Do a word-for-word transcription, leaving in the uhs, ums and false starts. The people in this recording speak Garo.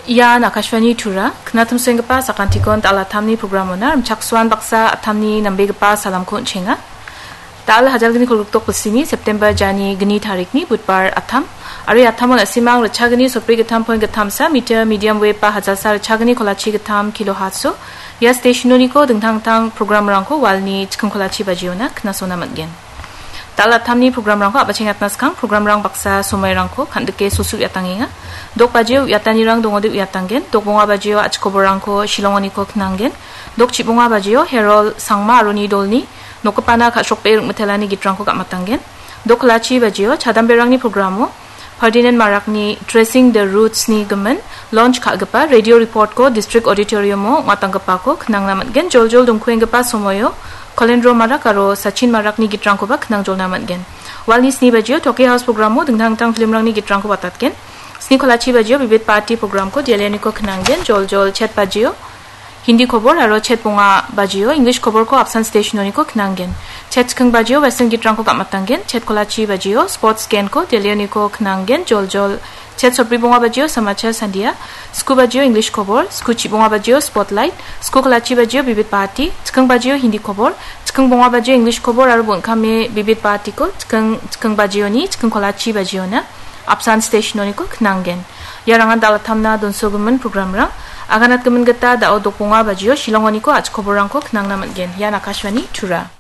Ian Akashvani Tura, knatumsenggipa sakantikon dal·a tamni programona rimchaksoan baksa atamni nambegipa salamko on·chenga. Dal hajalgni kolgrikdok bilsini September jani gni tarikni Budbar atam. Aro ia atamon a·simang ritchagni sotbri gittam point gittamsa meter medium wave ba hajalsa ritchagni kolachi gittam kilo hatso. Ia stationoniko dingtang dingtang programrangko walni chiking kolachi bajiona knasona man·gen. Dal·a tamni programrangko a·bachengatna skang programrang baksa somoirangko kan·dike sosu uiatangenga. Dok bajio uiatanirang dongode uiatanggen. Dok bonga bajio a·chikoborangko Shillongoniko knanggen. Dok chibonga bajio Herol Sangma aro ni dolni nokgipana ka·srokbe ringmitelani gitrangko ga·matanggen. Dok kolachi bajio chadamberangni programo Ferdinand Marakni Tracing the Roots-ni gimin launch ka·gipa radio report-ko District Auditorium-o ong·atanggipako knangna man·gen. Joljol dongkuenggipa somoio Kolendro Marak aro Sachin Marakni gitrangkoba knangjolna man·gen. Walni sni bajio Toki House programo dingtang dingtang filmrangni gitrangko watatgen. Sni kolachi bajio Bibit Bharati programko Dialioniko knanggen. Joljol chet bajio Hindi kobor aro chet bonga bajio English koborko apsan stationoniko knanggen. Chet chiking bajio Western gitrangko ga·matanggen. Chet kolachi bajio Sports Genko Dialioniko knanggen. Joljol chet sotbri bonga bajio Samachar Sandia. Sku bajio English kobor. Sku chibonga bajio Spotlight. Sku kolachi bajio Bibit Bharati. Chiking bajio Hindi kobor. Chiking bonga bajio English kobor aro bon·kame Bibit Bharatiko chiking, chiking bajioni, chiking kolachi bajiona apsan stationoniko knanggen. Iarangan dal·a tamna donsogimin programrang. Aganatgimin gita da·o dok bonga bajio Shillongoniko a·chikoborrangko knangna man·gen. Ian Akashvani Tura.